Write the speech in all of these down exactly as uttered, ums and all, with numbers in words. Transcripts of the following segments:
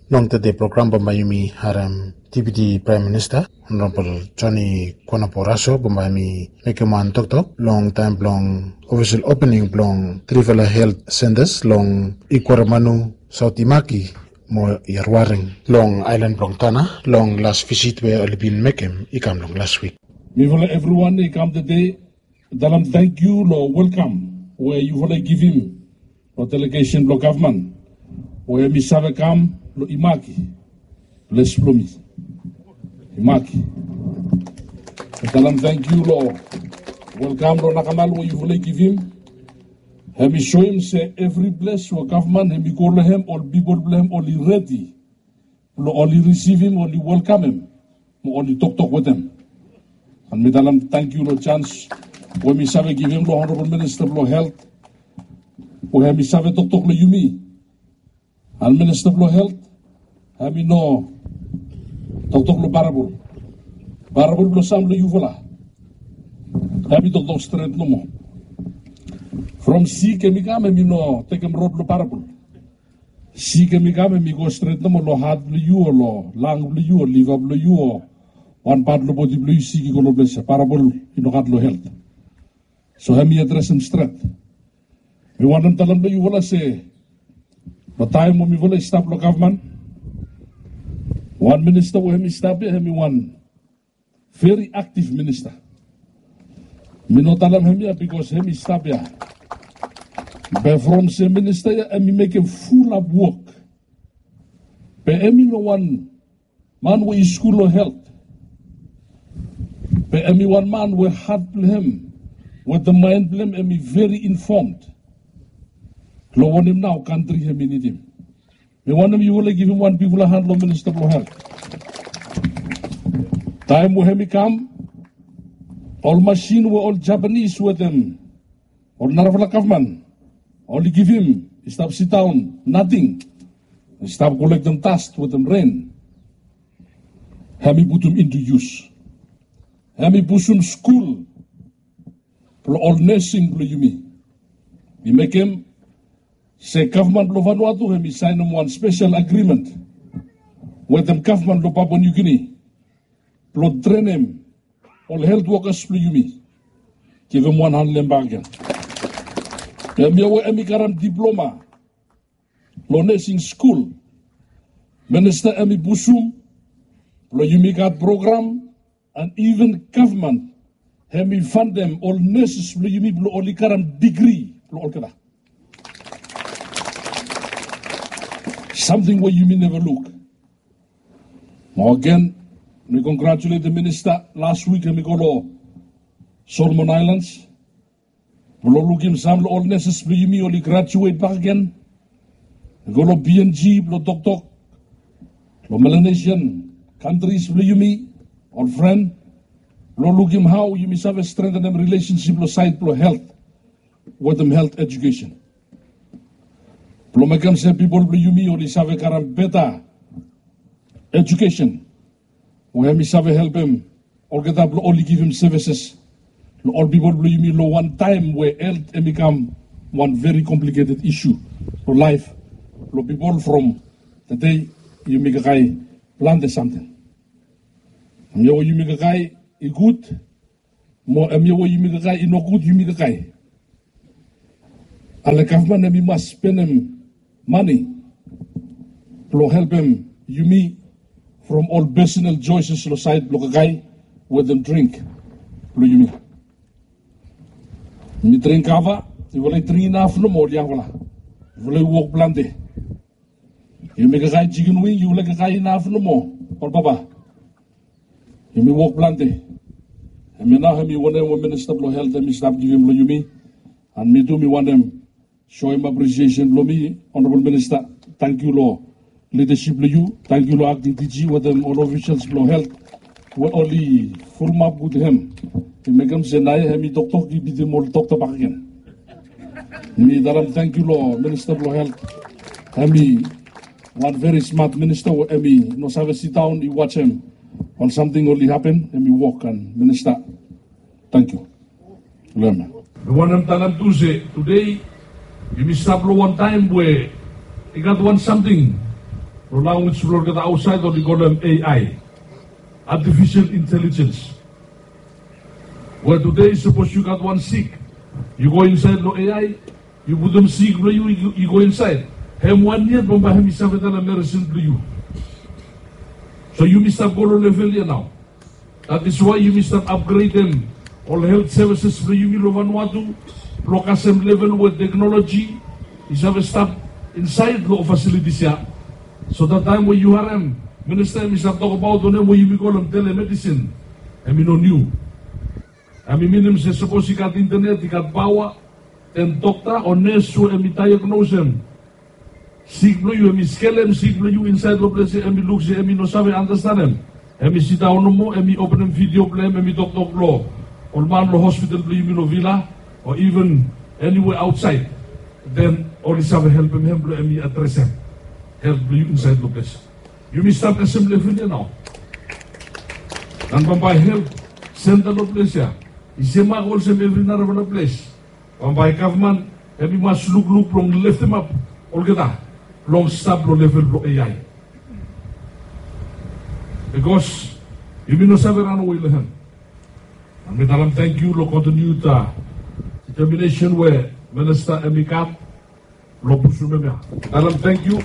Long tede program bambae yumi harem Deputy Prime Minister Honorable Johnny Konaporaso bambae hemi mekem wan toktok long taem blong official opening blong trifala health centres long Ikuaramanu, Saot Imaki mo Iyaruareng long aelan blong Tanna long las visit we oli bin mekem i kam long las wik. Mifala evriwan i kam tede talem tangkiu long welkam we yufala i givim long delegesen blong gavman we hemi save kam long Imaki, ples blong mi, Imaki. Talem tangkiu long welkam blong nakamal we yufala i givim. Hemi soem se evri ples we gavman hemi go long hem, ol pipol blong hem oli redi blong oli risivim, oli welkamem mo oli toktok wetem. An mi talem tangkiu long janis we mi save givim long Honorable Minista blong Helt we hemi save toktok long yumi. An Minista blong Helt hemi no toktok long parabol. Parabol blong sam blong yufala hemi toktok stret nomo. From sik hemi kam, hemi no tekem rod blong parabol. Sik hemi kam, hemi go stret nomo long hat blong yu o long lang blong yu o liva blong yu o wan pat long bodi blong yu, sik i go long ples ya. Parabol i no gat long Helt. So hemi adresem stret. Mi wantem talem long yufala se long taem we mifala i stap long gavman, wan minista we hemi stap ya hemi wan veri aktiv minista. Mi no talem hemia bikos hemi stap ya. Be from se minista ya hemi mekem fulap wok. Be hemi no wan man we i skul long Helt. Be hemi wan man we hat blong hem wetem maen blong hem hemi veri infomd long wanem nao kantri hemi nidim. Mi wantem yufala givim wan bigfala han long Minista blong Helt. Taem we hemi kam, ol masin we ol Japanis wetem ol narafala gavman oli givim i stap sidaon nating, i stap kolektem das wetem ren, hemi putum into use. Hemi pusum skul blong ol nesing blong yumi. Mi mekem se gavman blong Vanuatu hemi saenem wan spesel agrimen wetem gavman blong Papua New Guinea blong trenem ol helt wokas blong yumi. Givim wan han long hem bakegen. Hemia we hemi karem diploma long nesing skul. Minista hemi pusum blong yumi gat program, an iven gavman hemi fandem ol neses blong yumi blong oli karem digri blong olgeta. Samting we yumi neva luk. Mo agen, mi kongratuletem minista. Las wik hemi go long Solomon Aelans blong lukim sam long ol neses blong yumi oli grajuet bakegen i go long P N G blong toktok long Melanesian kantris blong yumi, ol fren, blong lukim hao yumi save strengtenem rilesensip long saed blong helt wetem helt ejukesen blong mekem se pipol blong yumi oli save karem beta ejukesen we hemi save helpem olgeta blong oli givim sevises long ol pipol blong yumi long wan taem we helt hemi kam wan veri kompliketed isu long laef blong pipol. From tede yumi kakae plante samting. Hemia we yumi kakae i gud, mo hemia we yumi kakae i nogud, yumi kakae. Ale gavman hemi mas spenem mane blong helpem yumi from ol personal choices long saed blong kakae wetem dring blong yumi. Yumi dring kava, yufala i dring inaf nomo, ol yangfala. Yufala i wok plante. Yumi kakae jikin wing, yufala i kakae inaf nomo, ol papa. Yumi wok plante. Hemia nao hemi wanem we minista blong helt hemi stap givim long yumi. An mi tu mi wantem soem apresiesen blong mi, Honorable Minista, tangkiu long lidasip blong yu. Tangkiu long akting D G wetem ol ofisals blong helt we oli fulumap gud hem. I mekem se naoia hemi toktok i bitim ol dokta bakegen. Mi talem tangkiu long minista blong helt. Hemi wan veri smat minista we hemi no save sidaon i wajem ol samting oli hapen, hemi wok. An minista, tangkiu. Long hem. Mi wantem talem tu se tede yumi stap long wan taem we i gat wan samting Long language blong olgeta aotsaed oli kolem A I, artificial intelligence. We tude sapos yu gat wan sik, yu go insaed long A I, yu putum sik blong yu, yu go insaed. Hem wan yet bambae hem i save talem meresin blong yu. So yumi stap go long level ya nao. That is why yumi stap upgradem ol health services blong yumi long Vanuatu blong kasem level we teknoloji i save stap insaed long ol facilities ya. So that taem we yu harem minista hem i stap tokbaot wanem we yumi kolem telemedicine, hem i no niu. Hem i minim se sapos i gat internet, i gat paoa, then dokta o nes we hem i diagnosem sik blong yu, hem i skelem sik blong yu insaed long ples ya, hem i luk se hem i no save andastanem, hem i sidaon nomo, hem i openem video blong hem, hem i toktok long ol man long hospital blong yumi long Vila o even eniwea aotsaed. Then oli save helpem hem blong hem i adresem helt blong yu insaed long ples ya. Yumi stap kasem level ya nao. An bambae helt senta long ples ya i semak olsem evri narafala ples. Bambae gavman hem i mas lukluk blong leftemap olgeta blong stap long level blong A I. Bikos yumi no save ranawe long hem. An mi talem tangkiu long kontiniuta determinesen we minista hem i gat blong pusum hemia. Mi talem tangkiu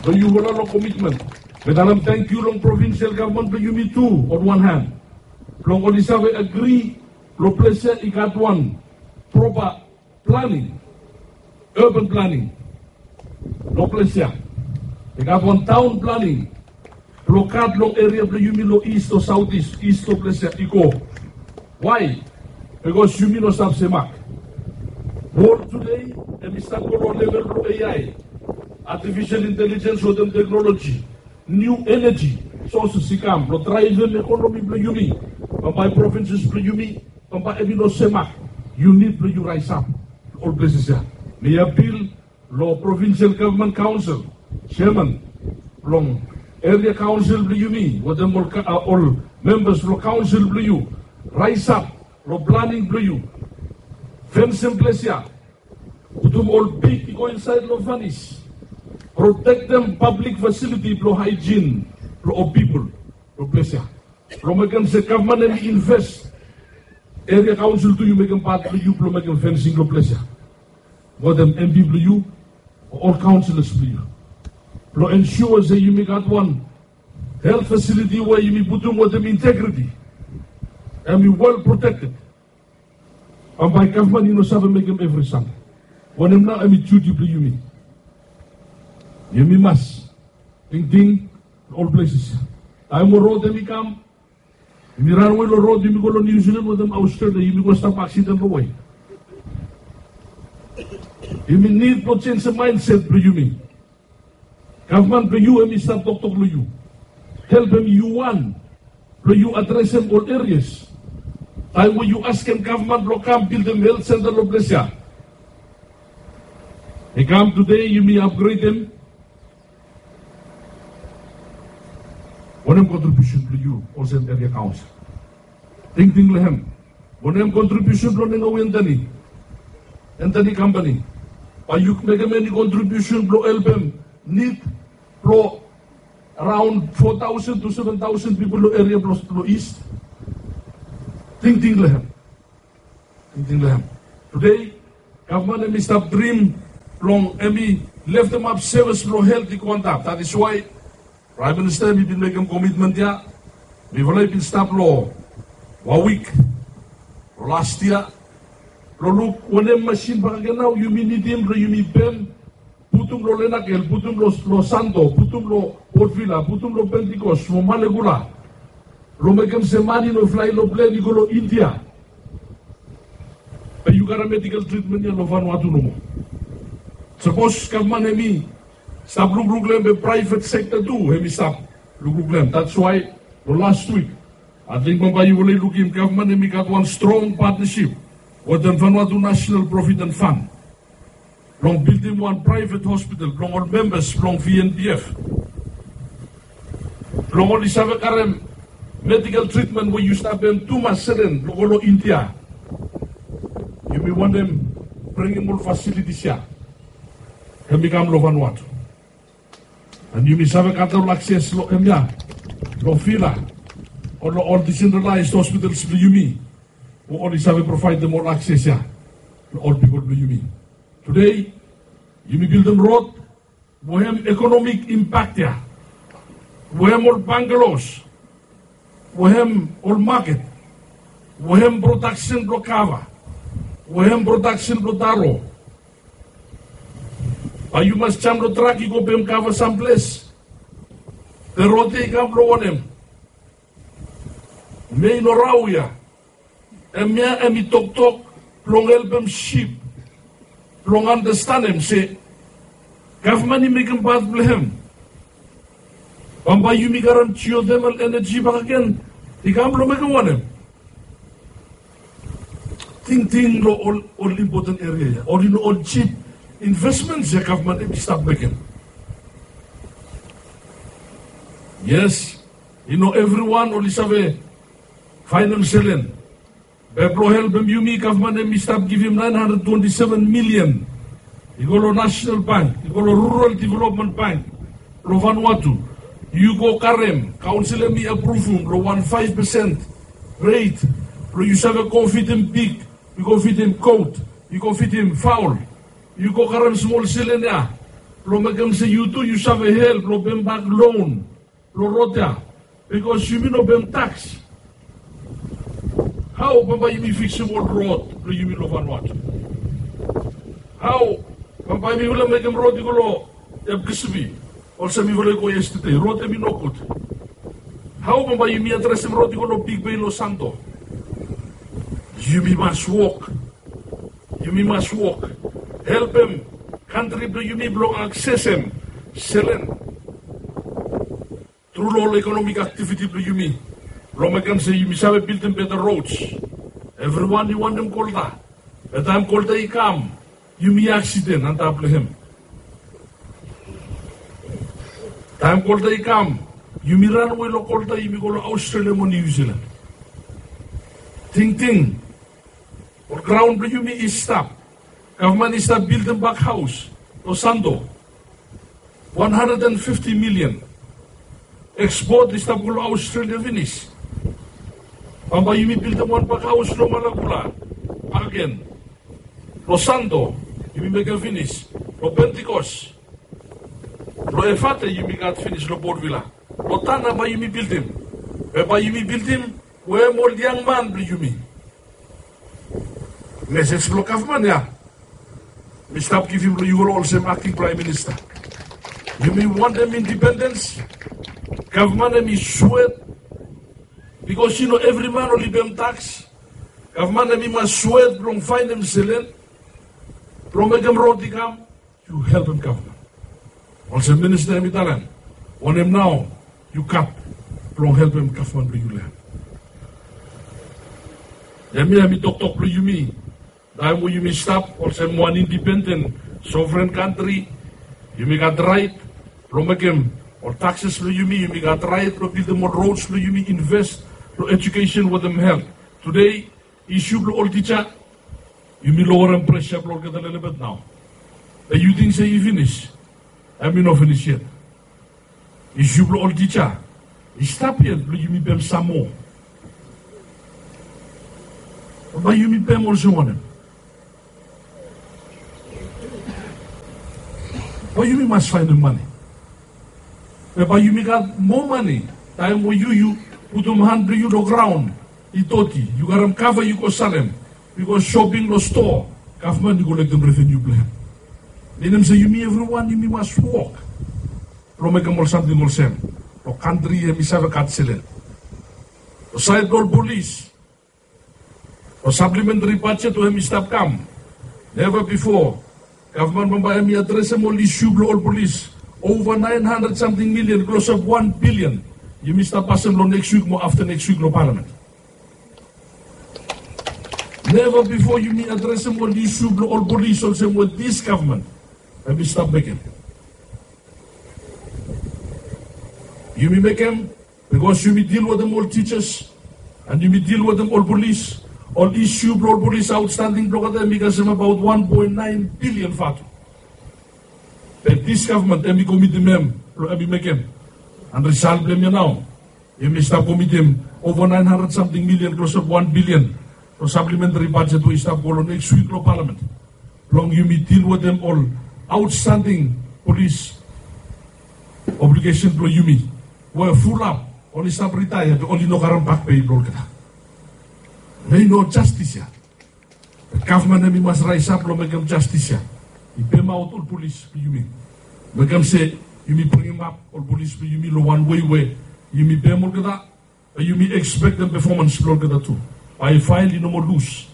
long yu ol long komitmen. Mi talem tangkiu long provinsel gavman blong yumi tu on wan han blong oli save agri blong ples ya i gat wan propa planing, urban planing. Long ples ya i gat wan taon planing blong gat long eria blong yumi long ist o saotis, ist long ples ya i go. Wae? Bikos yumi no stap semak. Wol tude hem i stap go long level blong A I, artificial intelligence wetem teknoloji, niu eneji soses i kam blong draevem ekonomi blong yumi. Bambae provinses blong yumi bambae hem i no semak. Yu nid blong yu raesap long ol pleses ya. Mi apil long provinsel gavman kaonsel, seaman blong eria kaonsel blong yumi wetem ol membas blong kaonsel blong yu, raesap long planing blong yu. Fensem ples ya, putum ol pig i go insaed long fanis, protektem pablik fasiliti blong haejin blong ol pipol long ples ya. Blong mekem se gavman hem i inves, eria kaonsel tu yu mekem pat blong yu blong mekem fensing long ples ya wetem MP blong yu o ol kaonselas blong yu blong ensua se yumi gat wan helt fasiliti we yumi putum wetem integriti. Hem i wel protekted. Bambae gavman i no save mekem evri samting. Wanem nao hem i juti blong yumi? Yumi mas tingting long ol pleses. Taem we rod hem i kam, yumi ranawe long rod, yumi go long Niu Silan wetem Aostralia, yumi go stap aksiden long wae. Yumi nid blong jenisim maenset blong yumi. Gavman blong yu hem i stap toktok long yu. Helpem yu wan blong yu adresem ol erias. Taem we yu askem gavman blong kam bildim helt senta long ples ya, i kam tude yumi apgredem. Wanem kontribiusen blong yu olsem eria kaonsel? Tingting long hem. Wanem kontribiusen blong Ngawi Anthony, Anthony Company? Bae yu mekem eni kontribiusen blong helpem nid blong araon fo taosen tu seven taosen pipol long eria blong ist? Tingting long hem. Tingting long hem. Tude gavman hem i stap drim blong hem i leftemap sevis blong helt i go antap. That is why Praem Minista hem i bin mekem komitmen ya. Mifala i bin stap long wan wik long las yia blong luk wanem masin bakegen nao yumi nidim blong yumi pem, putum long Lenakel, putum long Santo, putum long Port Vila, putum long Pentecost mo Malekula, blong mekem se man i no flae long plen i go long India. Be yu gat medical treatment ya long Vanuatu nomo. Sapos gavman hem i stap lukluk long hem, be private sector tu hem i stap lukluk long hem. That's why long last week ating bambae yufala i lukim gavman hem i gat wan strong partnership wetem Vanuatu National Provident Fund blong bildim wan private hospital blong ol membas blong V N P F, blong oli save karem medical treatment we yu stap pem tumas seren blong go long India. Yumi wantem bringim ol facilities ya hem i kam long Vanuatu. An yumi save gat ol akses long hemia, long Vila, o long ol decentralized hospitals blong yumi, we oli save provaedem ol akses ya long ol pipol blong yumi. Tede yumi bildim rod we hem ekonomik impak ya, we hem ol bangaloos, we hem ol maket, we hem prodaksen blong kava, we hem prodaksen blong taro. Bae yu mas jam long trak yu go pem kava samples. Be rod ya i kam blong wanem? Mei no rao ya. Hemia hem i toktok blong helpem sif blong andastanem se gavman i mekem pat blong hem. Bambae yumi karem jiotemal eneji bakegen i kam blong mekem wanem? Tingting long ol, ol impoten eria ya, ol i no ol jip investments ya gavman hem i stap mekem. Yes, i no evriwan oli save faenem selen. Be blong helpem yumi, gavman hem i stap givim nine hundred twenty seven million i go long National Bank, i go long Rural Development Bank blong Vanuatu. Yu go karem, kaonsel hem i apruvum long wan five percent rate blong yu save go fidim pig, yu go fidim goat, yu go fidim faol. Yu go karem smol selen ya blong mekem se yu tu yu save help long pembak loan blong rod ya, bikos yumi no pem taks. Hao bambae yumi fiksim ol rod blong yumi long Vanuatu? Hao bambae mifala mekem rod i go long Epkisimi, olsem mifala i go yestede, rod hem i nogud? Hao bambae yumi adresem rod i go long Bigbei long Santo? Yumi mas wok. Yumi mas wok, helpem kantri blong yumi blong aksesem selen tru long ol ekonomik aktiviti blong yumi, blong mekem se yumi save bildim beta rods. Evriwan i wantem kolta, be taem kolta i kam, yumi aksiden antap long hem. Taem kolta i kam, yumi ranwe long kolta, yumi go long Australia mo Niu Silan. Tingting, ol graon blong yumi i stap. Gavman i stap bildim bak haos long Santo, wan handred an fifti milian. Ekspot i stap go long Australia finis. Bambae yumi bildim wan bak haos long Malakula bakegen. Long Santo yumi mekem finis. Long Pentikos, long Efate yumi gat finis, long Port Vila, long Tanna bae yumi bildim. Be bae yumi bildim wetem ol yangman blong yumi. Mesej blong gavman ya mi stap givim long yufala olsem akting praem minista. Yumi wantem indipendens. Gavman hem i swet, bikos i no evri man oli pem taks. Gavman hem i mas swet blong faenem selen blong mekem rod i kam. Yu helpem gavman. Olsem minista hem i talem, wanem nao yu gat blong helpem gavman blong yu long hem? Hemia hem i toktok blong yumi. Taem we yumi stap olsem wan indipenden sovren kantri, yumi gat raet blong mekem ol takses blong yumi, yumi gat raet blong bildim ol rods blong yumi, inves long ejukesen wetem helt. Tede, isiu blong ol tija, yumi lowerem presa blong olgeta lelebet nao. Be yu ting se i finis? Hem i no finis yet. Isiu blong ol tija i stap yet blong yumi pem sam moa. Bae yumi pem olsem wanem? Bae yumi mas faenem mane. Be bae yumi gat moa mane taem we yu, yu putum han blong yu long graon i doti, yu karem kava yu go salem, yu go soping long stoa, gavman i kolektem reveniu blong hem. Minim se yumi evriwan yumi mas wok blong mekem ol samting olsem, long kantri hem i save gat selen. Long saed blong ol polis, long saplementari bajet we hem i stap kam, neva bifo gavman bambae hem i adresem ol isiu blong ol polis. Ova naen handred samting milian, klosap wan bilian, yumi stap pasem long neks wik mo afta neks wik long palamen. Neva bifo yumi adresem ol isiu blong ol polis olsem we dis gavman hem i stap mekem. Yumi mekem bikos yumi dil wetem ol tijas, an yumi dil wetem ol polis. Ol isiu blong ol polis aotstanding blong olgeta hem i kasem abaot wan poen naen bilian vatu. Be dis gavman hem i komitim hem blong hem i mekem. An risal blong hem ya nao, hem i stap komitim ova naen handred samting milian, klosap wan bilian, long saplementari bajet we i stap go long neks wik long palamen blong yumi dil wetem ol aotstanding polis obligesen blong yumi we fulap oli stap ritaea be oli no karem bakpei blong olgeta. Hemia i no jastis ya. Gavman hem i mas raesap blong mekem jastis ya. I pemaot ol polis blong yumi. Mekem se yumi bringimap ol polis blong yumi long wan wei we yumi pem olgeta, be yumi ekspektem pefomans blong olgeta tu. Bae fael i no moa lus.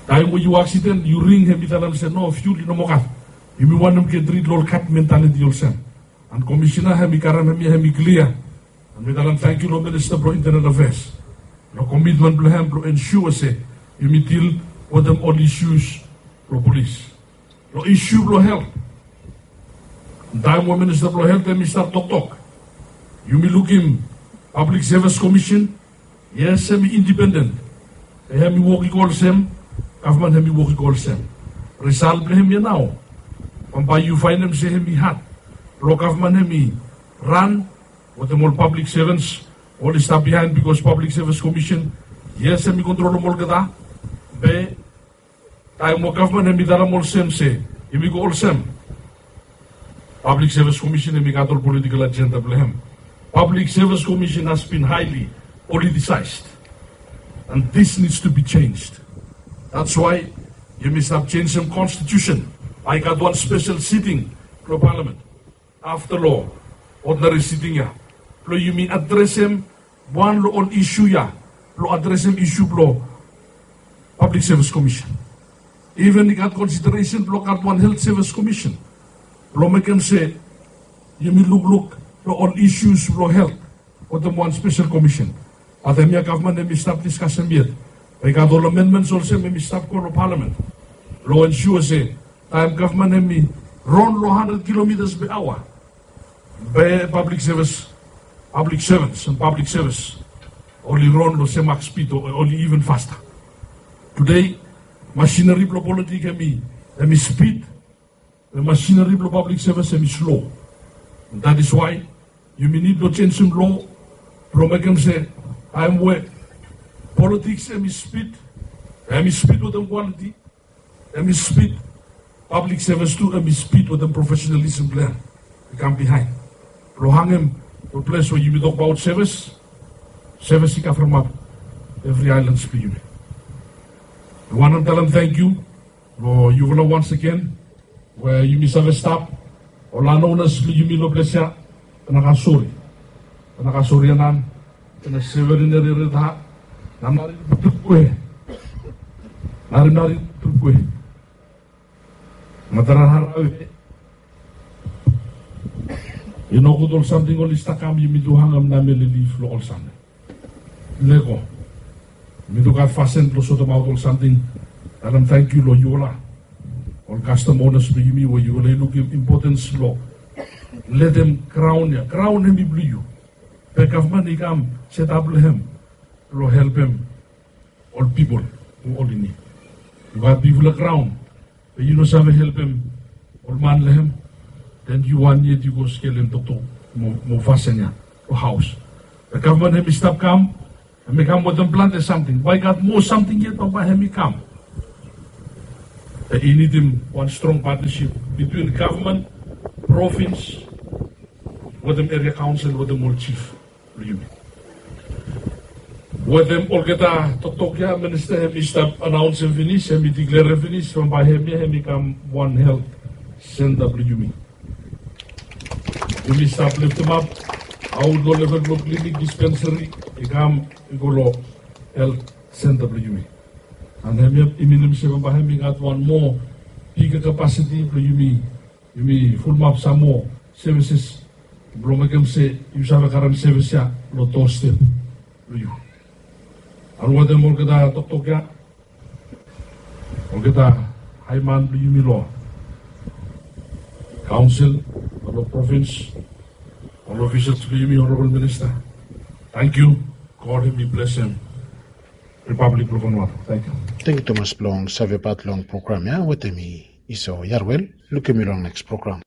Taem we yu aksiden, yu ring, hem i talem se no, fiul i no moa gat. Yumi wantem get rid long ol gat mentaliti olsem. An komisena hem i karem hemia, hem i klia. An mi talem tangkiu long Minista blong Intanel Afeas long komitmen blong hem blong ensua se yumi dil wetem ol isius blong polis. Long isiu blong helt, taem we Minista blong Helt hem i stap toktok, yumi lukim Pablik Sevis Komisen, yes, hem i indipenden. Be hem i wok i go olsem, gavman hem i wok i go olsem. Risal blong hemia nao, bambae yu faenem se hem i had blong gavman hem i ran wetem ol pablik sevens oli stap biaen, bikos Pablik Sevis Komisen, yes, hem i kontrolem olgeta. Be taem we gavman hem i talem olsem se yumi go olsem, Pablik Sevis Komisen hem i gat ol politikol ajenda blong hem. Pablik Sevis Komisen has bin haeli politisaes, an dis nids tu bi jenis. That's why yumi stap jenisem konstitusen, bae i gat wan spesel siting blong palamen afta long odinari siting ya, blong yumi adresem wan long ol isiu ya, blong adresem isiu blong Pablik Sevis Komisen. Iven i gat konsideresen blong gat wan Helt Sevis Komisen blong mekem se yumi lukluk long ol isius blong helt wetem wan spesel komisen. Bat hemia gavman hem i stap diskasem yet. Be i gat ol amendments olsem hem i stap go long palamen blong ensua se taem gavman hem i ron long handred kilomitas pe aoa, be pablik sevis, pablik sevens an pablik sevis oli ron long sem mak spid o oli iven fasta. Tudei masineri blong politik hem i, hem i spid, be masineri blong pablik sevis hem i slo. That is why yumi nid blong jenisem lo blong mekem se taem we politiks hem i spid, hem i spid wetem kwaliti, hem i spid, pablik sevis tu hem i spid wetem profesenalisem blong hem i kam biaen blong hangem long ples we yumi tokbaot sevis, sevis i kavremap evri aelans blong yumi. Mi wantem talem tangkiu long yufala once again we yumi save stap, ol landonas blong yumi long ples ya, Tanakasori, Tanakasori Anan, Tana Severineri Reta, Namnari Trukwe, Narinari Trukwe, Matara Harawe. I nogud ol samting oli stap kam, yumi tu hangem namele lif long ol samting. Lego. Yumi tu gat fasin blong sotemaot ol samting. Talem tangkiu long yufala ol kastom onas blong yumi we yufala i lukim impotens blong letem graon ya, graon hem i blong yu. Be gavman i kam setap long hem blong helpem ol pipol we oli nid. Yu gat bigfala graon be yu no save helpem ol man long hem, den yu wan yet yu go skelem toktok mo, mo fasin ya long haos. Be gavman hem i stap kam, hem i kam wetem plante samting. Bae i gat moa samting yet bambae hem i kam. Be i nidim wan strong patnasip bitwin gavman, provins, wetem eria kaonsel, wetem ol jif blong yumi. Wetem olgeta toktok ya, minista hem i stap anaonsem finis, hem i diklerem finis, bambae hemia hem i kam wan helt senta blong yumi. Yumi stap leftemap aot long level blong klinik, dispensari, i kam i go long helt senta blong yumi. An hemia i minim se bambae hem i gat wan moa bigger capacity blong yumi, yumi fulumap sam moa services blong mekem se yu save karem sevis ya long doorstep blong yu. An wetem olgeta toktok ya, olgeta haeman blong yumi long kaonsel, long provins, ol ofisals blong yumi, honorabol minista, tangkiu. God hem i blesem Ripablik blong Vanuatu. Tangkiu. Tangkiu tumas blong savebat long program ya wetem mi, Iso Yarwel. Lukim yu long neks program.